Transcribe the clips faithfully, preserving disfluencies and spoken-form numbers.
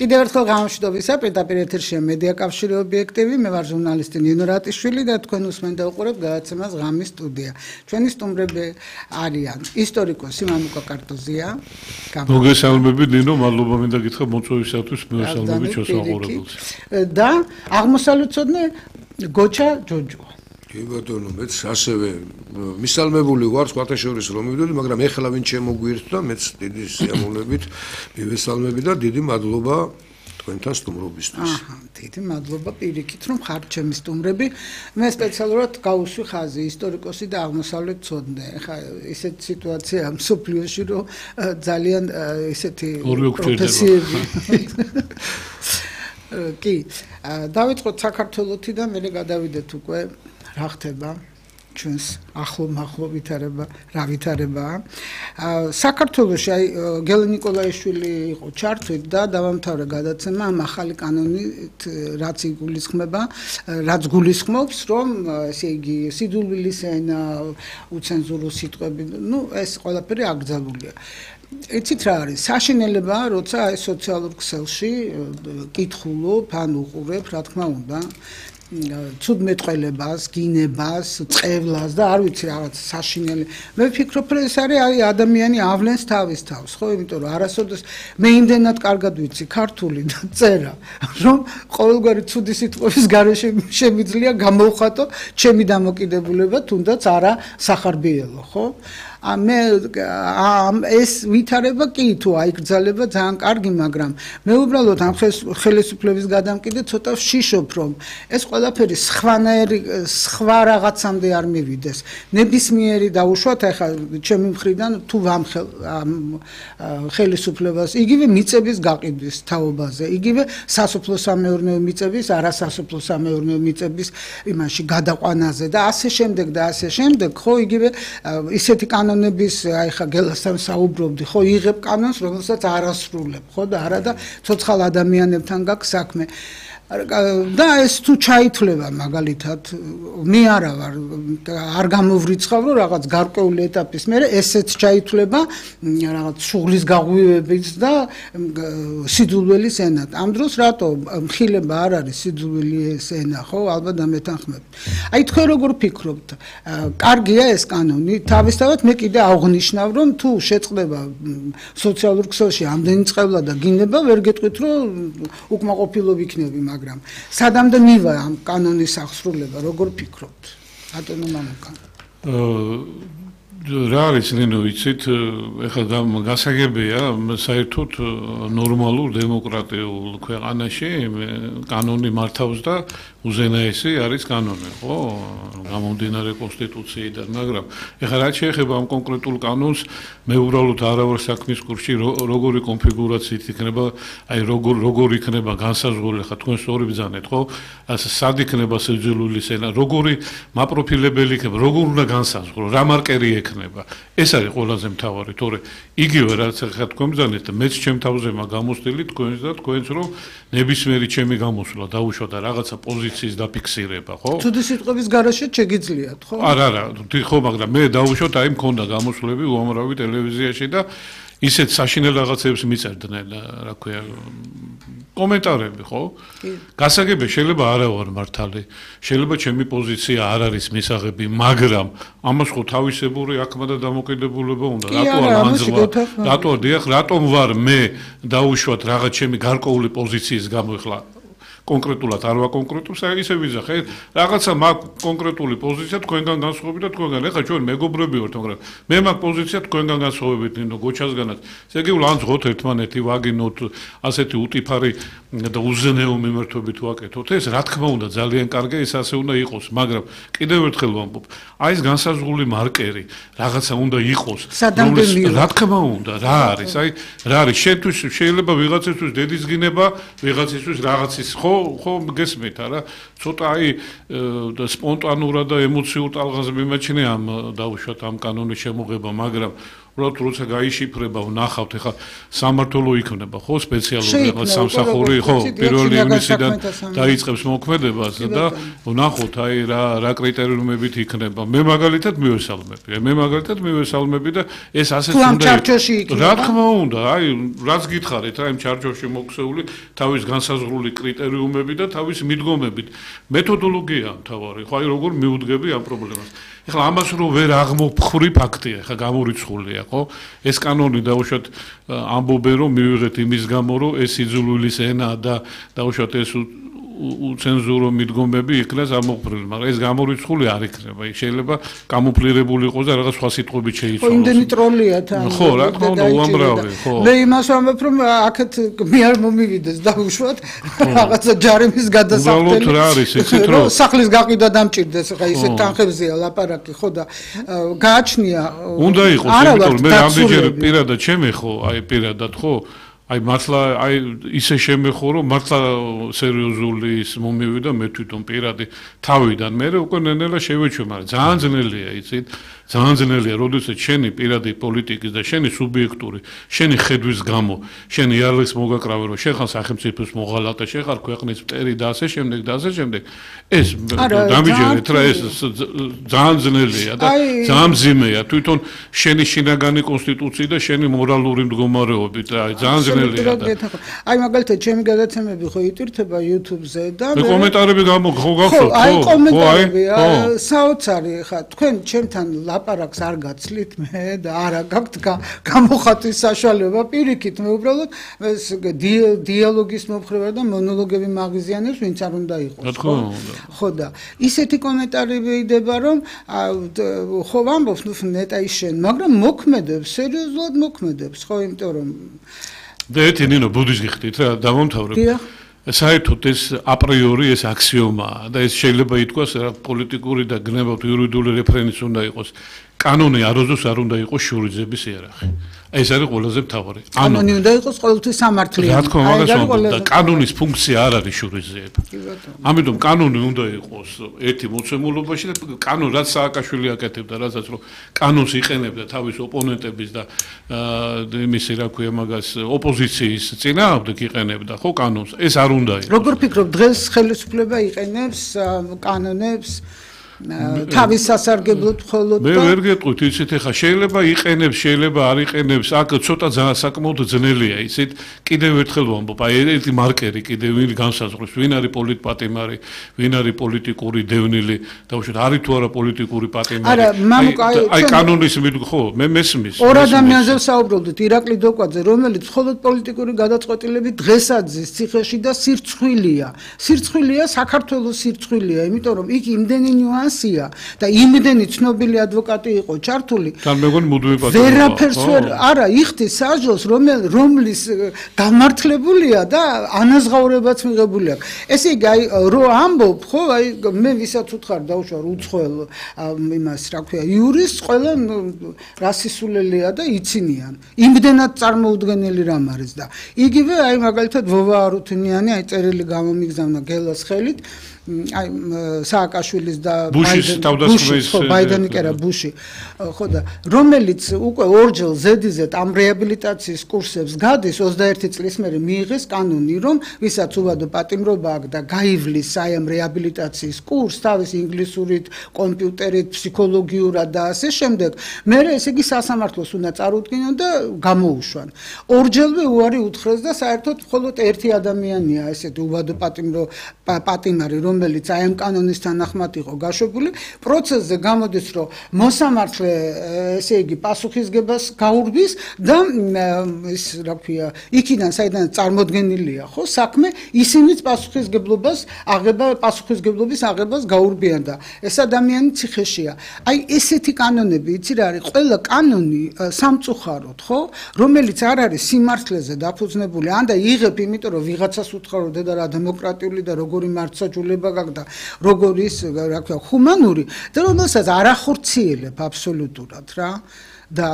კიდევ ერთხელ გამშვიდობისა, პირდაპირ ეთერშია მედია კავშირი ობიექტივი, მე ვარ ჟურნალისტი ნინო რატიშვილი და თქვენ უსმენთ და უყურებთ გადაცემას ღამის სტუდია. ჩვენი სტუმრები არიან ისტორიკოსი მამუკა კარტოზია. მოგესალმებით ნინო, მადლობა მინდა გითხრა მოწვევისათვის, მოგესალმებით ჩვენს აყურებელს. და აღმოსავლეთმცოდნე გოჩა ჯოჯო. კი ბატონო, მეც ასევე მისალმებული ვარ სხვათა შორის რომ მივიდოდი, მაგრამ ეხლა ვინ შემოგვიერთდა, მეც დიდი სიამოვნებით მივესალმები და დიდი მადლობა თქვენთან სტუმრობისთვის. აჰა, დიდი მადლობა პირიქით რომ ხართ ჩემი სტუმრები. მე სპეციალურად გავუსვი ხაზი ისტორიკოსი და აღმოსავლეთმცოდნე. ეხლა ისეთი სიტუაციაა მსოფლიოში, რომ ძალიან ისეთი პროფესიები. კი, დავიწყოთ საქართველოსიდან, მერე გადავიდეთ უკვე რა ხდება ჩვენს ახლო მახლო ვითარება, რა ვითარებაა. საქართველოში აი გელი ნიკოლაიშვილი იყო ჩართვით და დავამთავრე გადაცემა ამ ახალი კანონით, რაც იგულისხმება, რაც გულისხმობს, რომ ესე იგი სიძულვილის ენა, უცენზურო სიტყვები, ну ეს ყველაფერი აკრძალულია. იცით რა არის? საშინელებაა, როცა აი სოციალურ ქსელში კითხულობ, ან უყურებ, რა თქმა უნდა, ცუდმეტყველებას, გინებას, წყევლას და არ ვიცი რაღაც საშინელი. მე ვფიქრობ, რომ ეს არის აი ადამიანი ავლენს თავის თავს, ხო, იმიტომ რომ არასოდეს მე იმდენად კარგად ვიცი ქართული და წერა, რომ ყოველგვარი ცუდი სიტყვების გარეშე შემიძლია გამოვხატო ჩემი დამოკიდებულება, თუნდაც არა სახარბიელო, ხო? მე ეს ვითარება კი თუ აიგრძალება ძალიან კარგი, მაგრამ მე უბრალოდ ამ ხელისუფლების გადამკიდე ცოტა ვშიშობ, რომ ეს ყველაფერი სხვანაირი სხვა რაღაცამდე არ მივიდეს. ნებისმიერი დაუშვათ ახლა ჩემი მხრიდან თუ ვამხელ ამ ხელისუფლებას, იგივე მიწების გაყიდვის თაობაზე, იგივე სასოფლო-სამეურნეო მიწების, არასასოფლო-სამეურნეო მიწების იმაში გადაყვანაზე და ასე შემდეგ და ასე შემდეგ, ხო, იგივე ისეთი კანონები ნების აი ხა გელასთან საუბრობდი, ხო, იღებ კანონს, რომელსაც არ ასრულებ, ხო და არა და ცოცხალ ადამიანებთან გაქვს საქმე. და ეს თუ ჩაითვლება მაგალითად, მე არა ვარ, არ გამოვრიცხავ, რომ რაღაც გარკვეული ეტაპის მერე ესეც ჩაითვლება რაღაც შუღლის გაღვივებით და სიძულვილის ენად. ამ დროს რატო მხილება არ არის სიძულვილის ენა, ხო, ალბათ დამეთანხმებით. აი თქვენ როგორ ფიქრობთ? კარგია ეს კანონი? თავისთავად მე კიდე აღნიშნავ, რომ თუ შეწყდება სოციალურ ქსელში ამდენი წყევლა და გინება, ვერ გეტყვით, რომ უკმაყოფილო ვიქნები, მაგრამ სადამდე მივა ამ კანონის აღსრულება, როგორ ფიქრობთ? ბატონო მამუკა. რა არის ნინო, იცით, ეხლა გასაგებია, საერთოდ ნორმალურ დემოკრატიულ ქვეყანაში კანონი მართავს და უზენაესი არის კანონი, ხო? გამომდინარე კონსტიტუციიდან, მაგრამ ეხლა რაც შეეხება ამ კონკრეტულ კანონს, მე უბრალოდ არა ვარ საქმის კურსში, როგორი კონფიგურაციით იქნება, აი როგორ როგორ იქნება განსაზღვრული, ხა თქვენ სწორი ბრძანეთ, ხო? ასე სად იქნება სიძულვილის ენა, როგორი მაპროფილებელი იქნება, როგორ უნდა განსაზღვრო, რა მარკერი ექნება. ეს არის ყველაზე მთავარი, თორე იგივე რაც ხა თქვენ ბრძანეთ, მეც ჩემ თავზემა გამოსტილი თქვენს და თქვენს, რომ ნებისმიერი ჩემი გამოსვლა დაუშვათ და რაღაცა პოზიციის დაფიქსირება, ხო? ცუდი სიტყვების გარეშე შეგიძლიათ, ხო? არა, არა, ხო, მაგრამ მე დავუშვათ, აი მქონდა გამოსვლები უამრავი ტელევიზიაში და ისეთ საშინელ რაღაცებს მიწერდნენ, რა ქვია, კომენტარები, ხო? გასაგებია, შეიძლება არა ვარ მართალი, შეიძლება ჩემი პოზიცია არ არის მისაღები, მაგრამ ამას ხო თავისებური აქმა და დამოკიდებულება უნდა. რატო არ მანძლა? რატო დიახ, რატომ ვარ მე დაუშვათ რაღაც ჩემი გარკვეული პოზიციის გამო ეხლა კონკრეტულად არ ვაკონკრეტებს, აი ისე ვიზახე, რაღაცა მაგ კონკრეტული პოზიცია თქვენგან განსხვავებით და თქვენგან. ეხლა ჩვენ მეგობრები ვართ, მაგრამ მე მაგ პოზიცია თქვენგან განსხვავებით, ნინო, გოჩასგანაც. ესე იგი ვლანძღოთ ერთმანეთი, ვაგინოთ ასეთი უტიფარი და უზენაო მიმართვებით ვაკეთოთ. ეს რა თქმა უნდა ძალიან კარგია, ეს ასე უნდა იყოს, მაგრამ კიდევ ერთხელ ვამბობ, აი ეს განსაზღვრული მარკერი რაღაცა უნდა იყოს. რა თქმა უნდა, რა არის? აი რა არის? შენთვის შეიძლება ვიღაცისთვის დედის გინება, ვიღაცისთვის რაღაცის ხო ხო გესმით არა ცოტა აი სპონტანურად და ემოციურ ტალღაზე მიმაჩნია ამ დაუშვათ ამ კანონის შემოღება, მაგრამ უბრალოდ როცა გაიშიფრება, ვნახავთ, ეხლა სამმართველო იქნება, ხო, სპეციალური რაღაც სამსახური, ხო, პირველი ივნისიდან დაიწყებს მოქმედებას და ვნახოთ, აი რა რა კრიტერიუმებით იქნება. მე მაგალითად მივესალმები, მე მაგალითად მივესალმები და ეს ასეც უნდა იქნება. რა თქმა უნდა, აი რაც გითხარით, აი იმ ჩარჩოში მოქცეული თავის განსაზღვრული კრიტერიუმები და თავის მიდგომებით. მეთოდოლოგია მთავარი, ხო, აი როგორ მიუდგები ამ პრობლემას. ეხლა ამას რო ვერ აღმოფხვრი ფაქტია, ხა გამორიცხულია, ხო? ეს კანონი დაუშვათ ამბობენ რომ მივიღეთ იმის გამო, რომ ეს იძულვილის ენა და დაუშვათ ეს უცენზურო მიდგომები იქნას ამოფრილი, მაგრამ ეს გამორიცხული არ იქნება. იქ შეიძლება კამუფლირებული იყოს და რაღაც სხვა სიტყვებით შეიცვალოს. ხო, იმდენი ტროლია თან. ხო, რა თქმა უნდა, უამრავი, ხო. მე იმას ვამბობ, რომ აქეთ მე არ მომივიდეს დაუშვათ რაღაცა ჯარიმის გადასახდელი. უბრალოდ რა არის, იცით რომ სახლის გაყიდვა დამჭირდეს, ხა ისე თანხებზეა ლაპარაკი, ხო და გააჩნია. უნდა იყოს, იმიტომ მე რამდენჯერ პირადად შემეხო, აი პირადად, ხო? აი მართლა აი ისე შემეხო რომ მართლა სერიოზული ის მომივიდა მე თვითონ პირადი თავიდან მე უკვე ნენელა შევეჩვე მაგრამ ძალიან ძნელია იცით ძალიან ძნელია როდესაც შენი პირადი პოლიტიკის და შენი სუბიექტური შენი ხედვის გამო შენი იარაღის მოგაკრავე რომ შენ ხარ სახელმწიფოს მოღალატე შენ ხარ ქვეყნის მტერი და ასე შემდეგ და ასე შემდეგ ეს დამიჯერეთ რა ეს ძალიან ძნელია და ძალიან მძიმეა თვითონ შენი შინაგანი კონსტიტუცია და შენი მორალური მდგომარეობით აი ძალიან აი მაგალითად ჩემი გადაცემები ხო იტვირთება YouTube-ზე და მე კომენტარები გამოგხო ხო აი კომენტარები საოცარი ხა თქვენ ჩემთან ლაპარაკს არ გაცლით მე და არა გაქვთ გამოხატვის საშუალება პირიქით მე uბრალოდ ეს დიალოგის მომხრება და მონოლოგები მაღიზიანებს ვინც არ უნდა იყოს ხო და ისეთი კომენტარები იდება რომ ხო ვამბობ ნუ ნეტაი შენ მაგრამ მოქმედებს სერიოზულად მოქმედებს ხო იმიტომ რომ და ერთი ნინო ბუდიზმის გიხდით რა დავამთავრებ. საერთოდ ეს აპრიორი ეს აქსიომაა და ეს შეიძლება ითქვას რა პოლიტიკური და გნებავთ იურიდიული რეფერენცი უნდა იყოს. კანონი აროზოს არ უნდა იყოს შურიძების იარაღი. ეს არის ყველაზე მთავარი. კანონი უნდა იყოს ყოველთვის სამართლიანი. რა თქმა უნდა და კანონის ფუნქცია არ არის შურიძეები. ამიტომ კანონი უნდა იყოს ერთი მოცემულობაში და კანონი რაც სააკაშვილი აკეთებდა, რასაც რომ კანონს იყენებდა თავის ოპონენტების და იმისი რა ქვია მაგას ოპოზიციის წინააღმდეგ იყენებდა, ხო კანონს. ეს არ უნდა იყოს. როგორ ფიქრობ დღეს ხელისუფლება იყენებს კანონებს თავის სასარგებლოდ მხოლოდ მე ვერ გეტყვით იცით ეხა შეიძლება იყენებს შეიძლება არ იყენებს აქ ცოტა საკმაოდ ძნელია იცით კიდევ ერთხელ ვამბობ აი ერთი მარკერი კიდევ ვინ განსაზღვრებს ვინ არის პოლიტპატიმარი ვინ არის პოლიტიკური დევნილი დაუშვათ არის თუ არა პოლიტიკური პატიმარი აი კანონის ხო მე მესმის ორ ადამიანზე ვსაუბრობდით ირაკლი დოკვაძე რომელიც მხოლოდ პოლიტიკური გადაწყვეტილებით დღესაც ზის ციხეში და სირცხვილია სირცხვილია საქართველოს სირცხვილია იმიტომ რომ იქ იმდენი ნიუანსი და იმდენი ცნობილი ადვოკატი იყო ჩართული. თან მეგონი მუდმივი პატიმარი. ვერაფერს ვერ არა იხდის საჯოს რომლის გამართლებულია და ანაზღაურებაც მიღებული აქვს. ესე იგი აი რო ამბობ ხო აი მე ვისაც უთხარ დავუშვა უცხოელ იმას რა ქვია იურისტს ყველა რასისულელია და იცინიან. იმდენად წარმოუდგენელი რამ არის და იგივე აი მაგალითად ვოვა არუთუნიანი აი წერილი გამომიგზავნა გელას ხელით აი სააკაშვილის და ბუშის ბაიდენი კი არა ბუში ხო და რომელიც უკვე ორჯერ ზედიზედ ამ რეაბილიტაციის კურსებს გადის ოცდაერთი წლის მერე მიიღეს კანონი რომ ვისაც უვადო პატიმრობა აქვს და გაივლის აი ამ რეაბილიტაციის კურსს თავის ინგლისურით კომპიუტერით ფსიქოლოგიურად და ასე შემდეგ მე ესე იგი სასამართლოს უნდა წარუდგინონ და გამოუშვან ორჯერვე უარი უთხრეს და საერთოდ მხოლოდ ერთი ადამიანია ესეთი უვადო პატიმრო პატიმარი რომელიც აი ამ კანონის თანახმად იყო გაშვებული პროცესზე გამოდის რომ მოსამართლე ესე იგი პასუხისგებას გაურბის და ის რა ქვია იქიდან საიდან წარმოდგენილია ხო საქმე ისინიც პასუხისგებლობას აღება პასუხისგებლობის აღებას გაურბიან და ეს ადამიანი ციხეშია აი ესეთი კანონები იცი რა არის ყველა კანონი სამწუხაროდ ხო რომელიც არ არის სიმართლეზე დაფუძნებული ან და იღებ იმიტომ რომ ვიღაცას უთხარო და რა დემოკრატიული და როგორი მართლმსაჯულება გაგდა როგორის რა ქვია ჰუმანური და რომელსაც არ ახორციელებ აბსოლუტურად რა და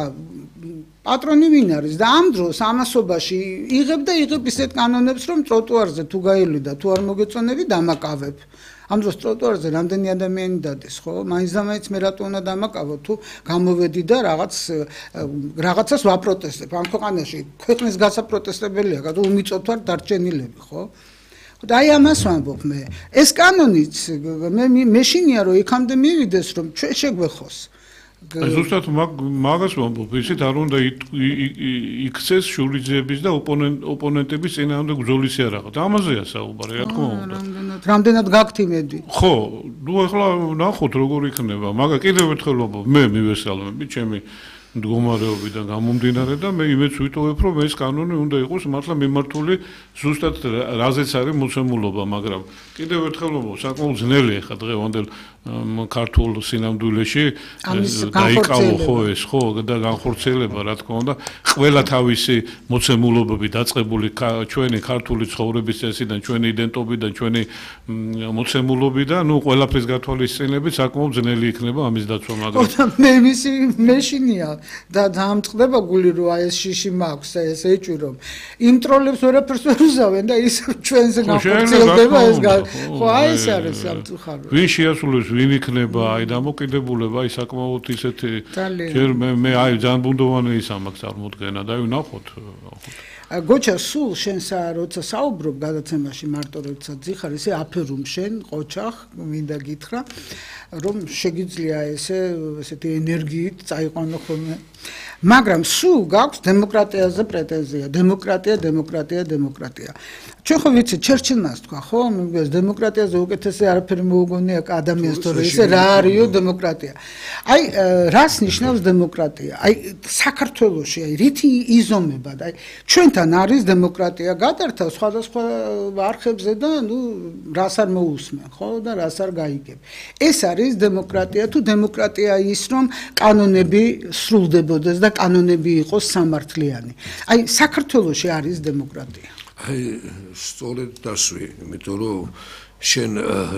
პატრონი ვინ არის და ამ დროს ამასობაში იღებ და იღებ ისეთ კანონებს რომ ტროტუარზე თუ გაივლი და თუ არ მოგეწონები დამაკავებ ამ დროს ტროტუარზე რამდენი ადამიანი დადეს, ხო? მაინც და მაინც მე რატო უნდა დამაკავო თუ გამოვედი და რაღაც რაღაცას ვაპროტესტებ. ამ ქვეყანაში ქვეყნის გასაპროტესტებელია, გადო უმიწოთ ვარ დარჩენილები, ხო? და აი ამას ვამბობ მე. ეს კანონიც მე მეშინია რომ იქამდე მივიდეს რომ ჩვენ შეგვეხოს. ზუსტად მაგას ვამბობ, ისეთ არ უნდა იქცეს შურიძეების და ოპონენტების წინააღმდეგ ბრძოლის იარაღად. ამაზეა საუბარი, რა თქმა უნდა. რამდენად გაქვთ იმედი? ხო, ნუ ახლა ნახოთ როგორ იქნება. მაგა კიდევ ერთხელ ვამბობ, მე მივესალმები ჩემი მდგომარეობიდან გამომდინარე და მე იმედს ვიტოვებ, რომ ეს კანონი უნდა იყოს მართლა მიმართული ზუსტად რაზეც არის მოცემულობა, მაგრამ კიდევ ერთხელ ვამბობ, საკმაოდ ძნელია ხა დღევანდელ ქართულ სინამდვილეში დაიკავო ხო ეს ხო და განხორციელება რა თქმა უნდა ყველა თავისი მოცემულობები დაწყებული ჩვენი ქართული ცხოვრების წესიდან, ჩვენი იდენტობიდან, ჩვენი მოცემულობიდან, ნუ ყველაფრის გათვალისწინებით საკმაოდ ძნელი იქნება ამის დაცვა, მაგრამ მე მისი მეშინია და დამწყდება გული რომ აი ეს შიში მაქვს და ეს ეჭვი რომ იმ ტროლებს ვერაფერს ვერ უზავენ და ის ჩვენზე განხორციელდება ეს ხო აი ეს არის სამწუხარო ვინ შეასრულებს ვინ იქნება აი დამოკიდებულება აი საკმაოდ ისეთი ჯერ მე მე აი ძალიან ბუნდოვანი ის ამაქვს წარმოდგენა და აი ვნახოთ გოჩა სულ შენ როცა საუბრობ გადაცემაში მარტო როცა ძიხარ ესე აფერუმ შენ ყოჩახ მინდა გითხრა რომ შეგიძლია ესე ესეთი ენერგიით წაიყვანო ხოლმე მაგრამ სულ გაქვს დემოკრატიაზე პრეტენზია დემოკრატია დემოკრატია დემოკრატია ჩვენ ხო ვიცით ჩერჩილმას თქვა ხო მიგეს დემოკრატიაზე უკეთესი არაფერი მოუგონია ადამიანს თორე ესე რა არისო დემოკრატია აი რას ნიშნავს დემოკრატია აი საქართველოში აი რითი იზომება და აი ჩვენთან არის დემოკრატია გადართა სხვადასხვა არხებზე და ნუ რას არ მოусმენ ხო და რას არ გაიგებ ეს არის დემოკრატია თუ დემოკრატია ის რომ კანონები სრულდებოდეს და კანონები იყოს სამართლიანი აი საქართველოში არის დემოკრატია აი სწორედ დასვი იმიტომ რომ შენ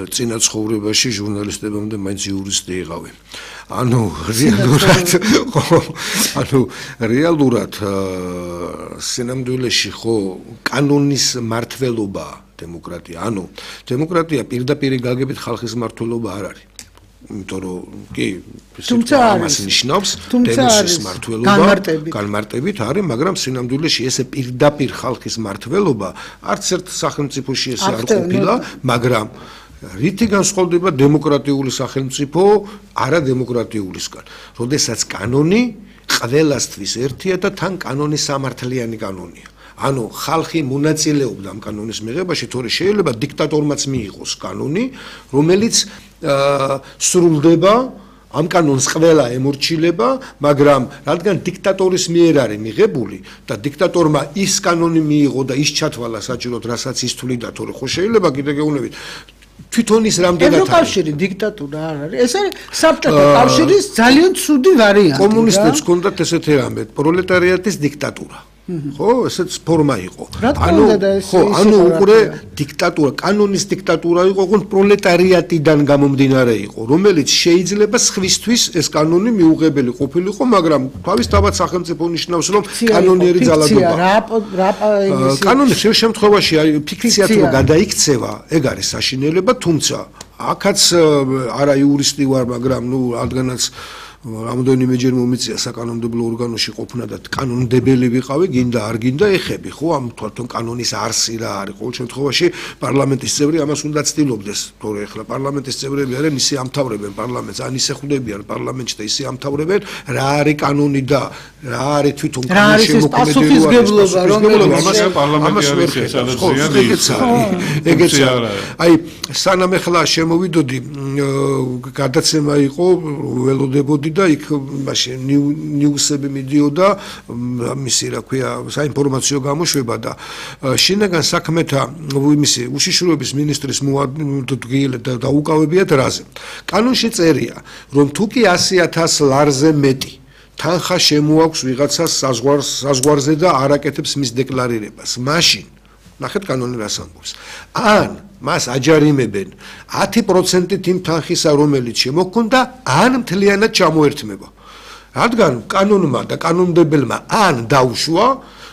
წინა ცხოვრებაში ჟურნალისტებამდე მაინც იურისტი იყავი ანუ რეალურად ხო ანუ რეალურად სინამდვილეში ხო კანონის მართლობა დემოკრატია ანუ დემოკრატია პირდაპირ გაგებით ხალხის მართლობა არ არის იმიტომ რომ კი ამას ნიშნავს დემოკრატიის მართლობა განმარტებით არის მაგრამ სინამდვილეში ესე პირდაპირ ხალხის მართლობა არც ერთ სახელმწიფოში ესე არ ყოფილა მაგრამ რითი განსხვავდება დემოკრატიული სახელმწიფო არადემოკრატიულისგან როდესაც კანონი ყველასთვის ერთია და თან კანონი სამართლიანი კანონია ანუ ხალხი მონაწილეობდა ამ კანონის მიღებაში თორე შეიძლება დიქტატორმაც მიიღოს კანონი რომელიც სრულდება ამ კანონს ყველა ემორჩილება მაგრამ რადგან დიქტატორის მიერ არის მიღებული და დიქტატორმა ის კანონი მიიღო და ის ჩათვალა საჭიროდ რასაც ის თვლიდა თორე ხო შეიძლება კიდე გეუბნებით თვითონ ის რამდენად არის ევროკავშირი დიქტატურა არ არის ეს არის საბჭოთა კავშირის ძალიან ცუდი ვარიანტი კომუნისტებს ჰქონდათ ესეთი რამე პროლეტარიატის დიქტატურა ხო ესეც ფორმა იყო ანუ ხო ანუ უყურე დიქტატურა კანონის დიქტატურა იყო ოღონდ პროლეტარიატიდან გამომდინარე იყო რომელიც შეიძლება სხვისთვის ეს კანონი მიუღებელი ყოფილიყო მაგრამ თავისთავად სახელმწიფო ნიშნავს რომ კანონიერი ძალადობა კანონი ხშირ შემთხვევაში აი ფიქციად რო გადაიქცევა ეგ არის საშინელება თუმცა აქაც არა იურისტი ვარ მაგრამ ნუ რადგანაც რამდენიმეჯერ მომიწია საკანონმდებლო ორგანოში ყოფნა და კანონმდებელი ვიყავი, გინდა არ გინდა ეხები, ხო, ამ თვითონ კანონის არსი რა არის, ყოველ შემთხვევაში პარლამენტის წევრი ამას უნდა ცდილობდეს, თორე ახლა პარლამენტის წევრები არიან, ისე ამთავრებენ პარლამენტს, ან ისე ხვდებიან პარლამენტში და ისე ამთავრებენ, რა არის კანონი და რა არის თვითონ კანონის შემოქმედება, რომელიც ამას პარლამენტი არის, სადაც ეგეც აი სანამ ახლა შემოვიდოდი გადაცემა იყო ველოდებოდი და იქ მაშინ ნიუსები მიდიოდა მისი რა ქვია საინფორმაციო გამოშვება და შინაგან საქმეთა იმისი უშიშროების მინისტრის მოადგილე და უკავებიათ რაზე კანონში წერია რომ თუ კი ასი ათას ლარზე მეტი თანხა შემოაქვს ვიღაცას საზღვარზე და არ აკეთებს მის დეკლარირებას მაშინ ნახეთ კანონი რას ამბობს ან მას აჯარიმებენ ათი პროცენტით იმ თანხისა რომელიც შემოქონდა ან მთლიანად ჩამოერთმება რადგან კანონმა და კანონმდებელმა ან დაუშვა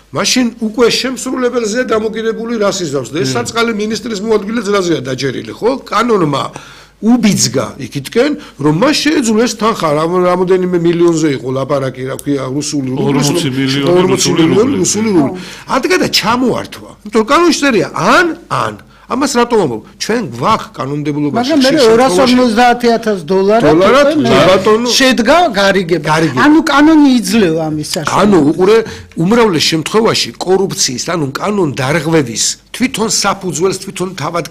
მაშინ უკვე შემსრულებელზეა დამოკიდებული რას იზავს და ეს საწყალი ministris მოადგილე ძრაზეა დაჯერილი, ხო? კანონმა უბიძგა იქითკენ, რომ მას შეეძლო ეს თანხა რამოდენიმე მილიონზე იყო ლაპარაკი, რა ქვია, რუსული რუბლის, ორმოცი მილიონი რუსული რუბლი. ადგა და ჩამოართვა. იმიტომ რომ კანონში წერია ან ან ამას რატომ ამბობ? ჩვენ გვაქვს კანონმდებლობაში. მაგრამ მე ორას ორმოცდაათი ათას დოლარად დოლარად ბატონო შედგა გარიგება. ანუ კანონი იძლევა ამის საშუალებას. ანუ უყურე უმრავლეს შემთხვევაში კორუფციის, ანუ კანონ დარღვევის თვითონ საფუძველს თვითონ თავად